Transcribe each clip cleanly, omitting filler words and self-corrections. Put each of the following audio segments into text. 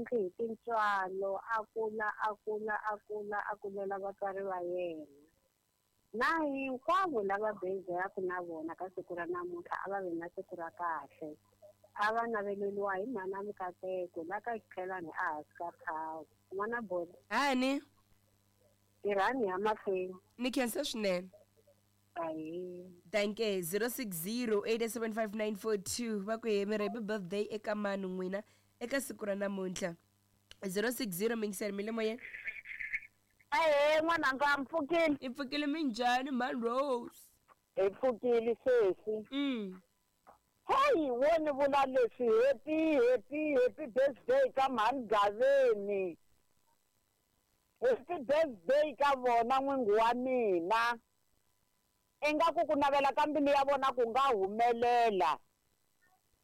tlhantlhi hi tintswalo a kula a kula a kula a kulela vatswari va yena. Na hinkwavo lava birthday-aku na vona ka siku ra namuntlha a va vi na siku ra kahle. A va naveleliwa hi mhana Mikateko la ka Xikhelani ehansi ka thawu. N'wana Bolo. Hani. Tirhani ya mahlweni. Ni khensa swinene. Ahee. Danke 06087594 va ku he mi ri happy birthday eka mani n'wina eka siku ra namuntlha 060 mingiseri mi le moyeni. Ahee n'wananga mi pfukile. Hi pfukile minjhani mhani Rose? Hi pfukile sesi. Heyi wo ni vula leswi happy happy happy birthday ka mhani Gaveni. Happy birthday ka vona n'wingi wa mina. Ingaku ku navela ka mbilu ya vona ku nga humelela.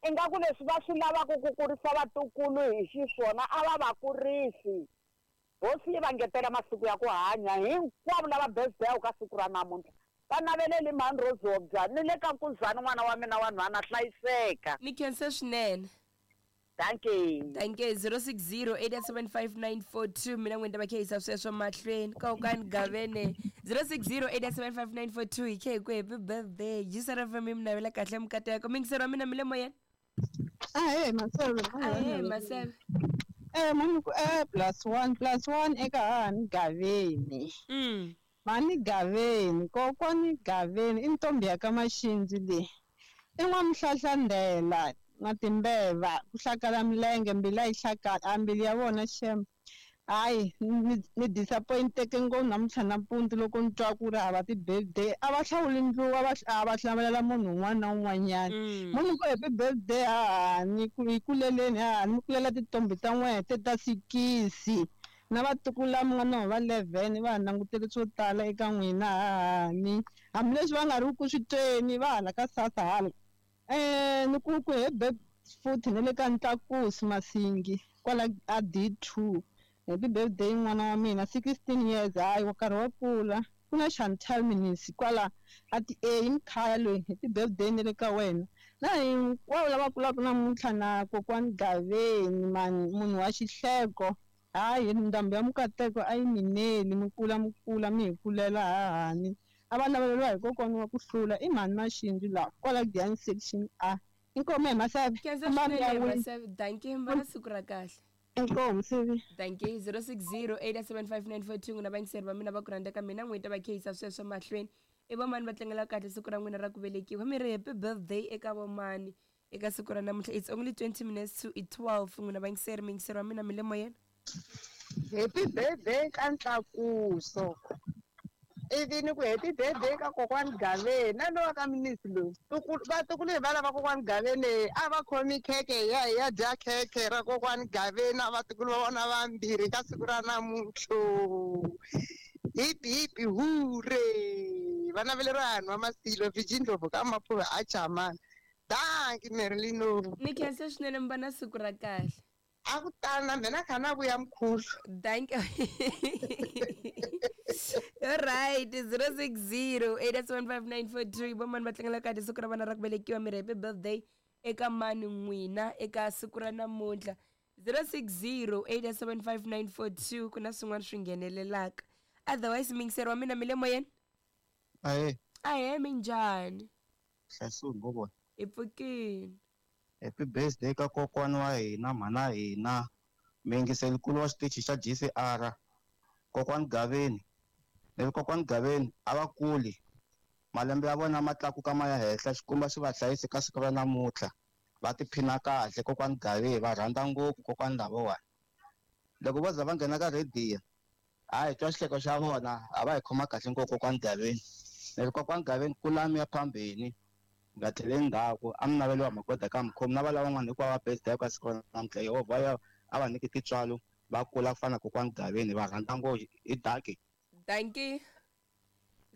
Ingaku leswi va swi lavaka ku kurisa vatukulu hi xiswona a va va kurisi. Hosi yi va ngetela masiku ya ku hanya hinkwavo lava birthday ka siku ra namuntlha. Va naveleli mhani Rozobya ni le ka Nkuzani n'wana wa mina wa nhwana hlayiseka. Ni khensa swinene. Dankie. Dankie 06087594 mina n'wini ta va khehisa sweswo mahlweni kokani gavene 06087594 hi khe hi ku happy birthday Jisara FM yi mi navela kahle mikateko mingiseri wa mina mi le moyeni. Ahee Maseve. Ahee Maseve. Mani ku plus one plus one eka hahani Gaveni. Mhani Gaveni, kokwani Gaveni i ntombi ya ka Maxindzi leyi. I n'wamuhlahlandela na timbeva ku hlakala milenge mbilu a yi hlakala a mbilu ya vona xem. Hayi ni disappointeke ngopfu namuntlha nampundzu loko ni twa ku ri hava ti-birthday a va hlawuli ndluwa a va hlamulela munhu un'wana na un'wanyana. Munhu ku happy birthday hahani ku hi kuleleni hahani mi kulela tintombi ta n'wehe te ta sikisi na vatukulu lava mi nga na va 11 va ha langutele swo tala eka n'wina hahani hambileswi va nga ri ku swi tweni va hala ka sasa hala ni ku ku happy futhi na le ka Ntlakusi Masingi kwala a D2. Happy birthday n'wana wa mina 16 years hayi nkarhi wa kula ku na Chantal Minisi kwala a ti A i mkhaya loyi happy birthday ni le ka wena na hinkwavo lava kulaka namuntlha na kokwani Gaveni mani munhu wa xihleko hayi ndhambi ya mukateko a yi mineli mi kula mi kula mi hi kulela hahani a va naveleriwa hi kokwani wa ku hlula i mhani Maxindzi laha kwala Giyani section A inkomu hi Maseve. Khensa swinene Maseve dankie mi va na siku ra kahle. Inkomu Sivi. Dankie 06087594 n'wina vayingiseri va mina va ku rhandza ka mina n'wini ta va khehisa sweswo mahlweni i vomani va tlangela kahle siku ra n'wina ra ku velekiwa mi ri happy birthday eka vomani eka siku ra namuntlha it's only 20 minutes to 12 n'wina vayingiseri miyingiseri wa mina mi le moyeni. Happy birthday ka Ntlakuso ivi ni ku happy birthday ka kokwani Gaveni na lowa ka Minisi loyi vatukulu hi va lava kokwani Gaveni a va khomi khekhe ya hi ya dya khekhe ra kokwani Gaveni na vatukulu va vona vambirhi ka siku ra namuntlha hipi hipi hure va naveleriwa vanhu va Masilo Virgin Ndlovu ka Maphuva a Chamana danki Merlino. Ni khensa swinene mi va na siku ra kahle. A ku tani na mina kha na vuya mkhulu. Thank you. All right, 06087594 vomani va tlangela kahle siku ra vana ra ku velekiwa mi ri happy birthday eka mani n'wina eka siku ra namuntlha 06087594 ku na swin'wana swi nghenelelaka otherwise mingiseri wa mina mi le moyeni. Ahee. Ahee minjhani? Hlayisiwe ngo vona. Hi pfukile. Happy birthday ka kokwani wa hina mhana hina muyingiseli-nkulu wa xitichi xa GCR kokwani Gaveni ni kokwani Gaveni a va kuli malembe ya vona ma tlakuka ma ya henhla xikwembu xi va hlayise ka siku ra namuntlha va tiphina kahle kokwani Gaveni va rhandza ngopfu kokwani lavawani loko vo za va nghena ka rhediyo a hi twa xihleko xa vona a va hi khoma kahle ngopfu kokwani Gaveni ni ri kokwani Gaveni kulani ya phambeni nga tlheleli ndzhaku a mi naveliwa magoda ka mukhomi na va lavan'wana hinkwavo va birthday ka siku ra namuntlha Yehovha ya a va nyiki tintswalo va kula ku fana na kokwani Gaveni va rhandza ngopfu hi daki. Dankie.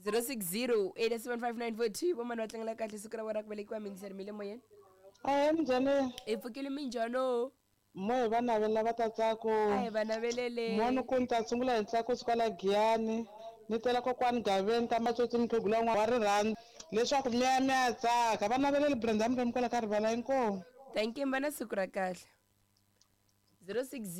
06087594 vomani va tlangela kahle siku ra vona ra ku velekiwa mingiseri mi le moyeni. Ahee minjhani? Hi pfukile minjhani? Mo hi va navelela va ta tsako. A hi va navelele. Mo ni ku ni ta sungula hi Ntlakusi kwala Giyani ni tela kokwani Gaveni ka Matsotsi mukhegula wa rirhandzu leswaku mi ya mi ya tsaka va navelele Brenda Mremi kwala ka rivala inkomu. Thank you mi va na siku ra kahle. 06